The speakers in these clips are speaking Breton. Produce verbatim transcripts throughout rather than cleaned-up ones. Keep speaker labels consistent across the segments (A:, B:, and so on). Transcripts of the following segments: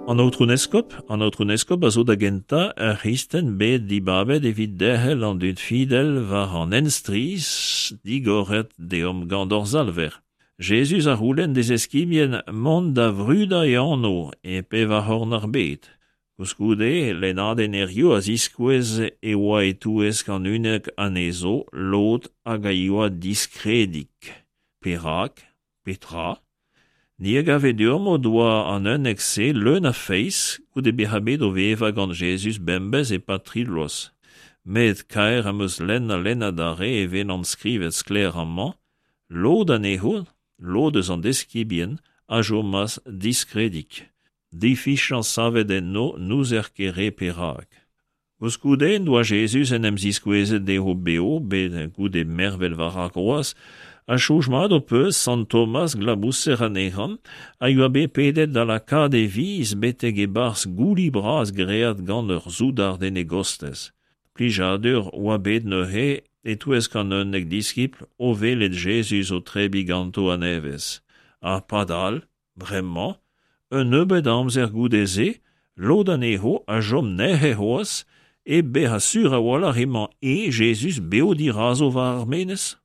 A: An Aotrou 'n Eskob, an Aotrou 'n Eskob a zo da gentañ ur c'hristen bet dibabet evit derc'hel an dud fidel war an hent strizh digoret deomp gant hor Salver. Jezuz a c'houlenn d'e zeskibien mont da vrudañ e anv e pevar c'horn ar bed. Koulskoude, lennadenn hiziv a ziskouez e oa e-touesk an unnek anezho lod hag a yoa diskredik. Perak? Petra? Ni a gave deomp o doa an unnek-se leun a feiz goude bezañ bet o vevañ gant Jezuz bemdez e-pad tri bloaz. Met kaer am eus lenn ha lenn adarre e welan skrivet sklaer amañ, lod anezho, lod eus an deskibien, a chomas diskredik. Difiziañs savet enno n'ouzer ket re perak. Koulskoude en doa Jezuz en em ziskouezet dezho bev bet goude mervel war ar groaz, ha soñj mat ho peus sant Tomaz glabouser anezhañ a yoa bet pedet da lakaat e viz betek e-barzh gouli bras graet gant ur soudard en e gostez. Plijadur oa bet neuze e-touesk an unnek diskibl o welet Jezuz o tebriñ ganto a-nevez. Ha padal, bremañ, un nebeud a amzer goude-se, lod anezho a chom nec'het c'hoazh hep bezañ sur a-walc'h emañ eñ Jezuz bev dirazo war ar menez.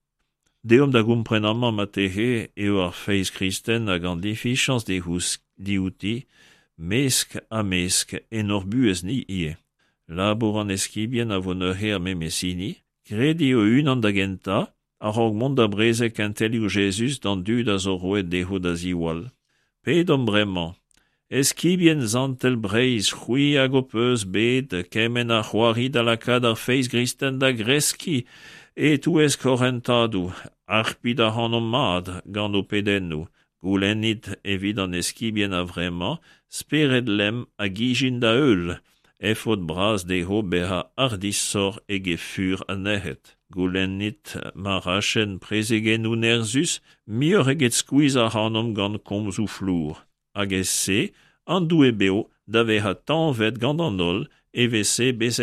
A: Deomp da gompren amañ marteze eo ar feiz kristen hag an difiziañs diouti mesk ha mesk en hor buhez-ni ivez. Labour an eskibien a vo neuze ar memes hini, krediñ o-unan da gentañ, a-raok mont da brezeg kentelioù Jezuz d'an dud a zo roet dezho da ziwall. Pedomp bremañ. Eskibien santel Breizh, c'hwi hag ho peus bet kement a c'hoari da lakaat ar feiz gristen da greskiñ e-touesk hor hentadoù, harpit ac'hanomp mat gant ho pedennoù, goulennit evit an eskibien a-vremañ, spered lemm hag ijin da heul, efod bras dezho bezañ hardishoc'h eget fur ha nec'het. Goulennit ma rachent prezegennoù nerzhus muioc'h eget skuizhañ ac'hanomp gant komzoù flour. Hag e-se, an Doue bev da vezañ tañvet gant an holl, evel-se bezet